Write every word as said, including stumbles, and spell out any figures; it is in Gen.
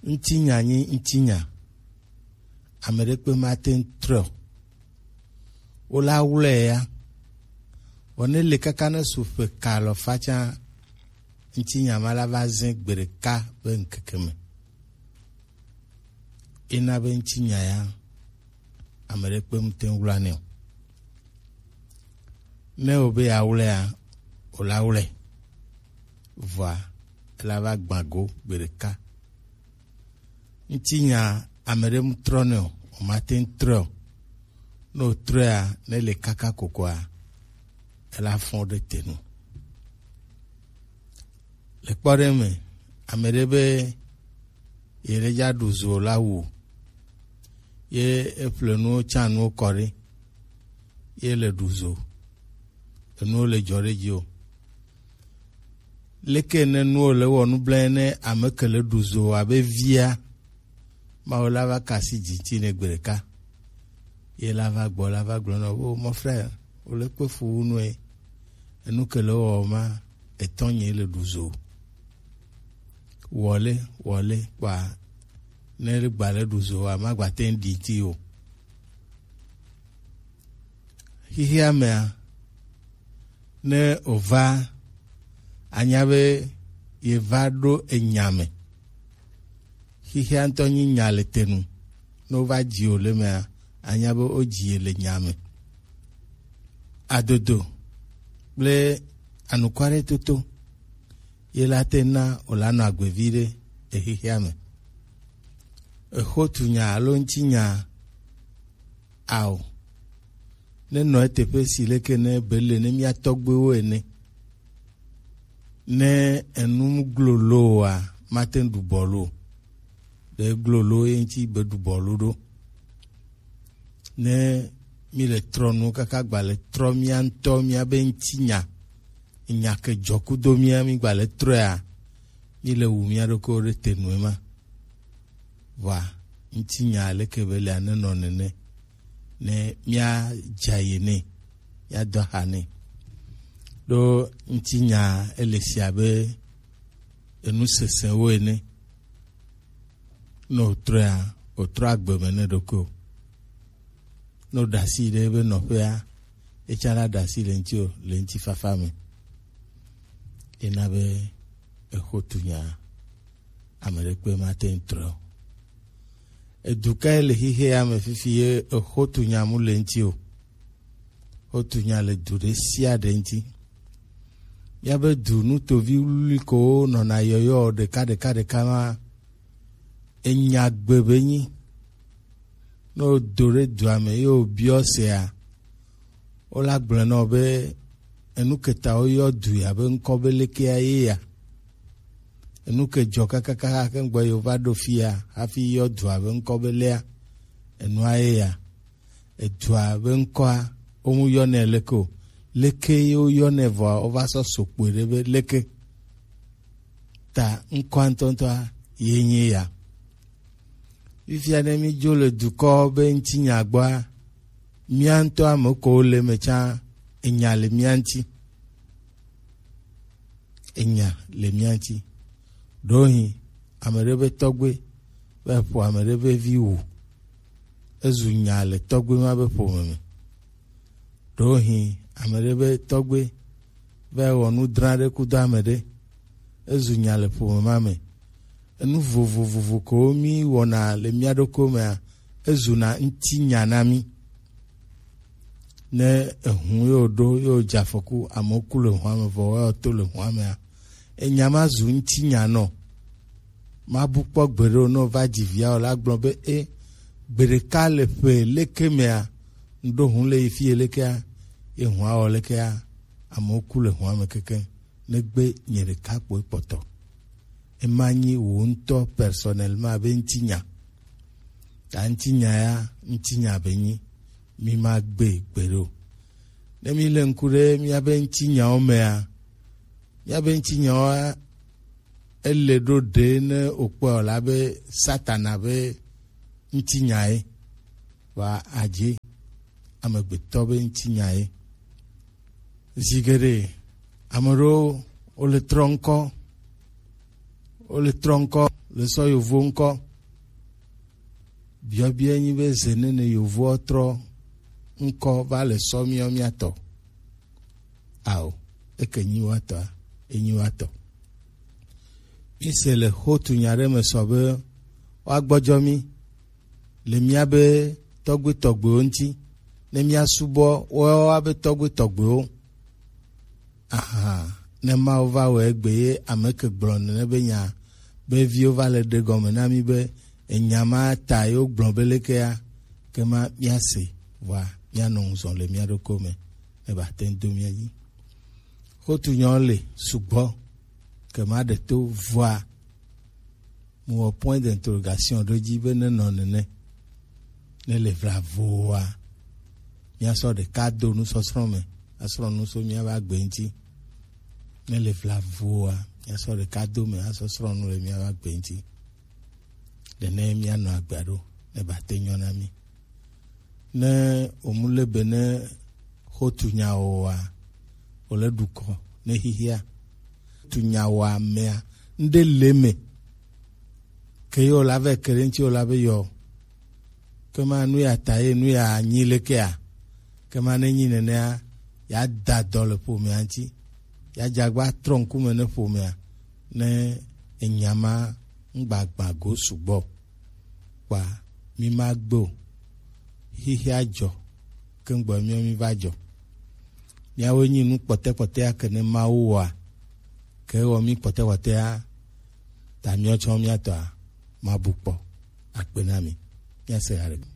Ŋutinya nyi ŋutinya. Ame ɖekpe mate ŋu trɔe o. Wo la wlɔe ya. Vɔ ne le kaka ne su ƒe ka alɔfa tsã, ŋutinya ma la va zẽ gbe ɖeka be ŋkeke me. Ena be ŋutinya ya, ame ɖekpe mate ŋu wlɔnɛ o. Ne wo be yeawlɔea, wo la wlɔe. Vɔa, ela va gbã go gbe ɖeka. Ŋutinya ame ɖe mu trɔnɛ o, womate ŋu trɔe o. Ne wòtrɔea, ne le kaka kokoa, ela fɔ ɖe te nu. Le kpɔɖeŋu me, ame ɖe be yeɖe dza ɖu zo la wu, ye eƒle nuwo tsã nuwo kɔ ɖi, ye le ɖu zo, enuwo le dzɔ ɖe dzi o. Leke ne nuwo le wɔ nublanui ne ame ke le ɖu zo abe via, Mawu la va kasi dzi ŋuti nɛ gbe ɖeka. Ye la va gbɔ, la va gblɔ na wo, "Oh, mon frère, wo le kpe fu wu nue. Enu ke le wɔ ma, etɔnye le ɖu zo. Wɔle, wɔle, kpa ne gba le ɖu zo, ama gba te ŋu ɖi ŋuti o." Xixea mea, ne wòva, anya be yeva ɖo enya me. Xixea ŋutɔ nyi nya le te nu. Ne wova dzi wò le mea, anya be wodzi ye le nya me. Adodo kple anukwaretɔto ye la te na wòla nɔ agbe viɖe le xixea me. Exotunya alo ŋutinya ao. Ne nɔ eteƒe si leke ne be le ne mía tɔgbuiwo ene. Ne enu mu glo loa, mate ŋu ɖu bɔlu o. Ɖe glo lo ye ŋuti be ɖu bɔlu ɖo. Ne mi le trɔ nu kaka gba le trɔ mía ŋutɔ mía be ŋutinya, nya ke dzɔ kudo mía mi gba le trɔea, mi le wu mía ɖokuiwo ɖe te nu ema. Vɔa, ŋutinya leke be le anenɔ nene, ne mía dza ye nɛ, mía do aha nɛ. Ɖo ŋutinya ele si abe enu sesẽwo ene. Ne wòtrɔea, wòtrɔ agbe me ne ɖokui o. Ne wòɖe asi ɖe ebe nɔƒea, etsã la ɖe asi le ŋuti o, le ŋutifafa me. Ena be exotunya, ame ɖekpe mate ŋu trɔe o. Edu kae le xixea me fifi ye exotunya mu le ŋuti o? Wotu nya le du ɖe sia ɖe ŋuti. Míabe du nutovi wluwlui kowo nɔna yɔyɔ ɖeka ɖeka ɖeka ma, enya gbe be nyi. Ne wodo ɖe dua me ye wobiɔ sea, wola gblɔe na wò be enu ke ta woyɔ du ya be ŋkɔ be lekea ye ya. Enu ke dzɔ kakakaka ke ŋgbɔ ye wova ɖo fia hafi yɔ dua be ŋkɔ be lea, enua ye ya. Edua be ŋkɔa, womu yɔnɛ leke o. Leke ye woyɔnɛ vɔa, wova sɔ so kpoe ɖe be leke. Ta ŋkɔa ŋutɔŋutɔa ye nye ya. Fifia ne mídzo le dukɔ be ŋutinya gbɔa, mía ŋutɔ ame kewo le eme tsã, enya le mía ŋuti. Enya le mía ŋuti. Ɖewohĩ ame ɖe be tɔgbe va ƒo ame ɖe be vi wu. Ezu nya le tɔgbe ma be ƒome me. Ɖewohĩ ame ɖe be tɔgbe va wɔ nu dra ɖe kudo ame ɖe. Ezu nya le ƒome ma me. Enu vovovovo kewo mí wɔna le mía ɖokuiwo mea, ezuna ŋutinya na mí. Ne ehu yewo ɖo yewo dze afɔku, amewo ku le hua me vɔ woawo to le hua mea, enya ma zu ŋutinya nɔ. Mabu kpɔ gbeɖe o, ne wova dzi via o la gblɔ be, e, gbe ɖeka le ƒe leke mea, ŋɖo hu le yi fie lekea, ye hua wɔ lekea, amewo ku le hua me kekeŋ. Negbe nye ɖeka kpoe kpɔtɔ. Ema nyi wò ŋutɔ personnellement be ŋutinya. Ta ŋutinya ya, ŋutinya be nyi, mi ma gbe gbeɖe o. Ne mi le ŋku ɖe míabe ŋutinyawo mea, míabe ŋutinyawoa, ele ɖo ɖe ne wòkpɔe wòla be Satana be ŋutinya ye. Vɔa adze amegbetɔ be ŋutinya ye. Zi geɖe, ame ɖewo wole trɔ ŋkɔ, Wo le trɔ ŋkɔ, le sɔ yovo ŋkɔ. Biɔbiɔ nyi be ze nene yovoɔ trɔ ŋkɔ va le sɔ miɔ miatɔ. Ao, eke nyi watɔ, enyi watɔ. Mi se le hotu nya ɖe me sɔ be woagbɔjɔ mi le miabe tɔgbe tɔgbewo ŋuti, ne miasubɔ woawo abe tɔgbe tɔgbewo. Aha, ne Mawu va wɔ egbe ye ame ke gblɔ nene be nya be viwo va le ɖe gɔme na mi be enya ma ta ye wogblɔ be lekea, ke ma miase, vɔa mianɔ ŋuzɔ le mia ɖokui me ne ba te ŋu do mia dzi. Hotu nyawo le sugbɔ ke ma ɖe to vɔa Mewɔ point d'interrogation ɖo dzi be nenɔ nene, ne le vlavoa, míasɔ ɖeka do nusɔsrɔ̃ me asrɔ̃ nu so míabe agbe ŋuti. Ne le vlavoa, míasɔ ɖeka do me asɔ srɔ̃ nu le míabe agbe ŋuti. Ɖe ne míanɔ agbea ɖo, ne ba te nyɔ na mí. Ne wòmu le be ne hotu nya oa, wòle ɖu kɔ ne xixia. Hotu nya oa mea, ŋɖe le me. Ke ye wòla vɛ ke ɖe ŋuti wòla be yɔ. Ke ma nu ya ta ye nu ya nyi lekea. Ke ma ne nyi nenea, ya da dɔ le ƒomea ŋuti. Ya dze agba trɔ ŋkume ne ƒomea. Ne enya ma ŋgbagbã go sugbɔ. Kpa mi ma gbe o. Xixia dzɔ, ke ŋgbɔ miɔ mi va dzɔ. Miawoe nyi nu kpɔtɛkpɔtɛa ke ne Mawu wɔa, ke ewɔ mi kpɔtɛkpɔtɛa, ta miɔ tsɔ miatɔa, mabu kpɔ. Akpe na mi. Miase ha ɖe.